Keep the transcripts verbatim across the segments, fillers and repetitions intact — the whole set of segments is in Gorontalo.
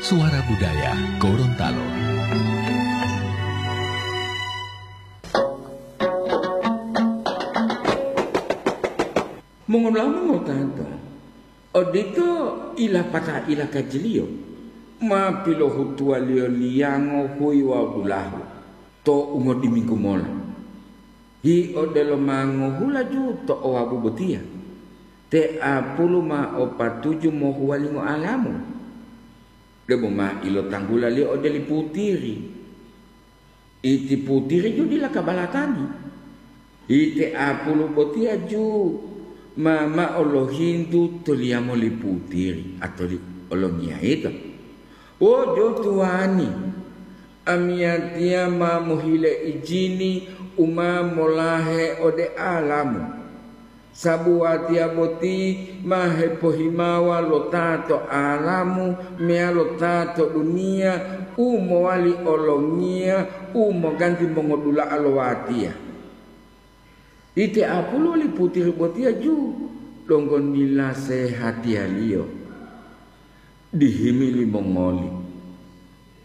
Suara Budaya Gorontalo. Mongola mongotata, odito ilapata ilakajiliyo, ma pilohutuwaliyo liyango huyi wawu dulahu to ungodiminggu mola. Hi odelo ma ngohulaju to owabu botiya, te apulu ma o patuju mohuwalingo alamu, debo ma ilotanggulaliyo ode li putiri. Iti putiri ju dila kabalatani. Ite apulu botiya ju ma mao lohintu to liyamo li putiri atoli olongiya ito. Wo jo tuwani, amiyatiya ma mohile ijini u ma molahe ode alamu. Sabu watiya boti ma hepohimawa lo ta to alamu meyalo ta to duniya u mowali olongiya u moganti mongodula'a lo watiya. Ite apulu li putiri botiya ju donggo nila sehatiyaliyo. Dihimi limongoli,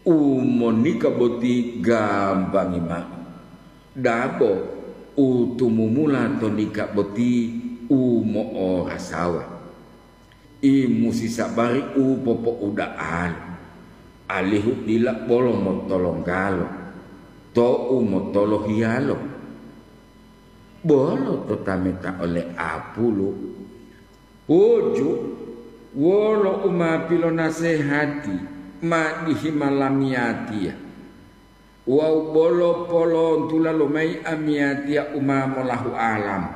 u monika boti gambangi mao. Dabo u tumumula to nika boti u mo'orasawa. I musi sabari u popo'uda'alo, alihu dila bolo motolonggalo, to'u motolohiyalo. Bolo to tameta ole apulu, Uju, wolo u ma pilonasehati ma dihima lamiyatiya, wawu bolo polontula lomayi amiyatiya u ma molahu alamu.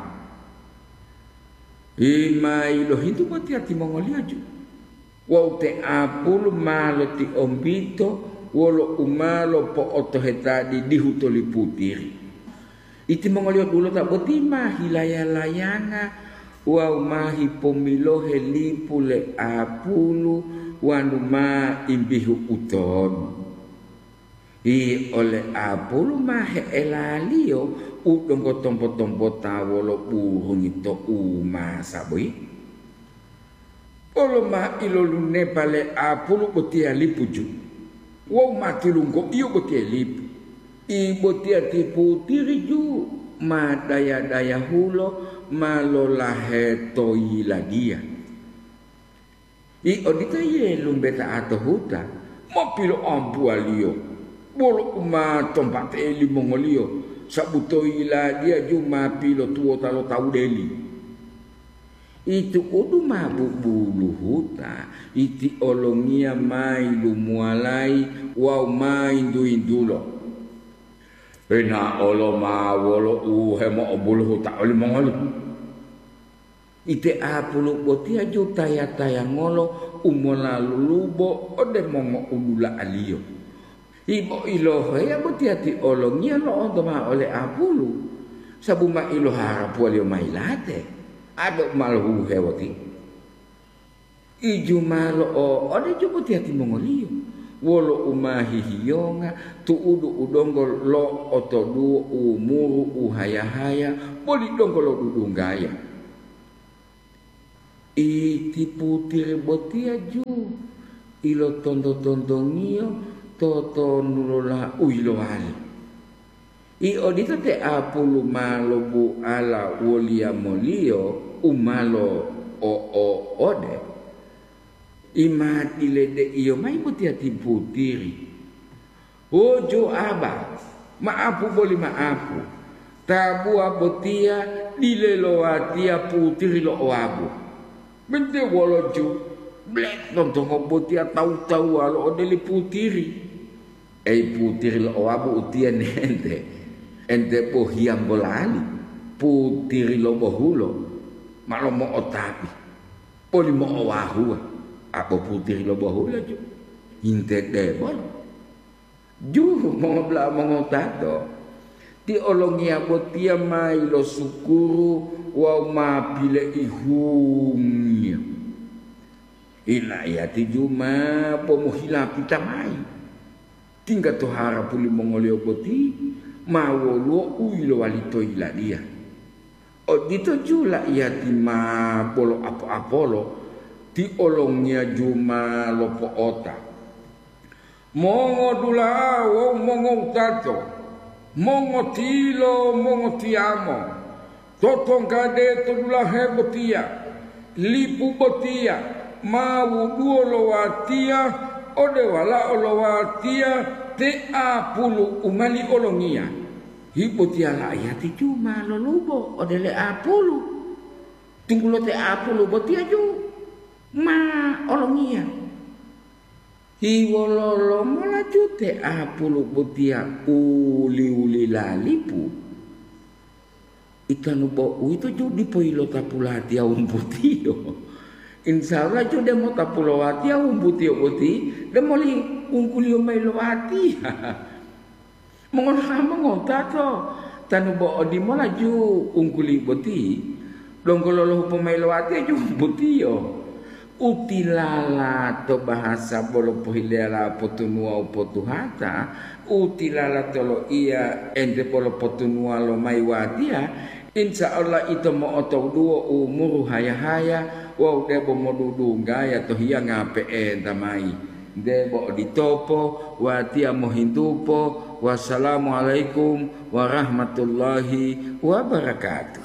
Yi ma yilohintu botiya timongoliyo ju, wawu te apulu ma lotiombito wolo u ma lopo'otoheta didihu toli putiri. Itimongoliyo dulota boti ma hilaya-layanga wawu ma hipomilohe lipu le apulu wonu ma imbihu utonu. Yi ole apulu ma he'elaliyo u donggo tombo-tombota wolo burungi to umasa boyi. Bolo ma ilolunepa le apulu botiya lipu ju, wawu ma tilunggoiyo botiya lipu. I botiya ti putiri ju ma daya-dayahulo ma lolahe to yiladiya. I odito yilumbeta'a to huta, ma piloambuwaliyo, bolo u ma tompatee limongoliyo, sabu to yiladiya ju ma pilotuwota lo tawu deli. Itu'udu ma bubuluhuta, iti olongiya ma yilumuwalayi wawu ma yintu-yintulo. Hinaolo ma wolo u hemo'obuluhuta olimongoli. Ite apulu botiya ju taya-tayangolo u molalulubo ode mongo'udula'aliyo. Ibo iloheya botiya ti olongiya lo'onto mao ole apulu, sabu ma iloharapuwaliyo ma yilate, ado u ma lohuhewoti. Iju ma lo'o'ode ju botiya timongoliyo, wolo u ma hihiyonga tu'udu u donggo lo'otoduwo umuru u haya-haya boli donggo lodudunggaya. Iti putiri botiya ju ilotonto-tontongiyo totonulola u yilowali. I odito te apulu ma lobuala woliyamoliyo u ma lo'o'ode, i ma diledeiyo mayi botiya ti putiri. Uju aba, ma'apu boli ma'apu, tabuwa botiya dile lo watiya putiri lo owabu. Bente wolo ju, ble tontongo botiya tawu-tawuwalo ode li putiri. Eyi putiri lo owabu utiye nente, ente bohiyambo lali, putiri lo bohulo, ma lomo'otapi, boli mo'owahuwa, abo putiri lo bohulo ju, hinte debolo. Juhu mongobla mongotato, ti olongiya botiya ma yilosukuru wawu ma pileihungiyo. Ilayati ju ma pomuhilapita mayi, tingga to harapu limongoliyo boti ma woluwo u yilowali to yiladiya. Odito ju laiyati ma bolo apo-apolo, ti olongiya ju ma lopo'ota, Mongodula'a wawu mongowutato, mongotilo, mongotiyamo, totonggade to dulahe botiya, lipu botiya ma wuduwo lo watiya ode walao lo watiya te apulu u mali olongiya. Hibotiya la'iyati ju ma lolubo ode le apulu, tunggulo te apulu botiya ju ma olongiya. Hiwololo mola ju te apulu botiya uli-uli lalipu? Itanu bo uwito ju dipo yilotapu latiya wumbutiyo. Insya Allah ju demo tapu lo watiya wumbutiyo boti, demo li wungguliyo mayi lo watiya. Mongona'a mongowutato, tanu bo odimola ju ungguli boti, donggo lolohu pomayi lo watiya ju botiyo. Utilala to bahasa bolo pohileyala potunuwa u potuhata, utilala to loiya ente bolo potunuwa lomayi watiya, insya Allah ito mo'otoduwo umuru haya-haya wawu debo modudunggaya to hiyanga pe'enta mayi. Debo oditopo, watiya mohintupo. Wassalamualaikum warahmatullahi wabarakatuh.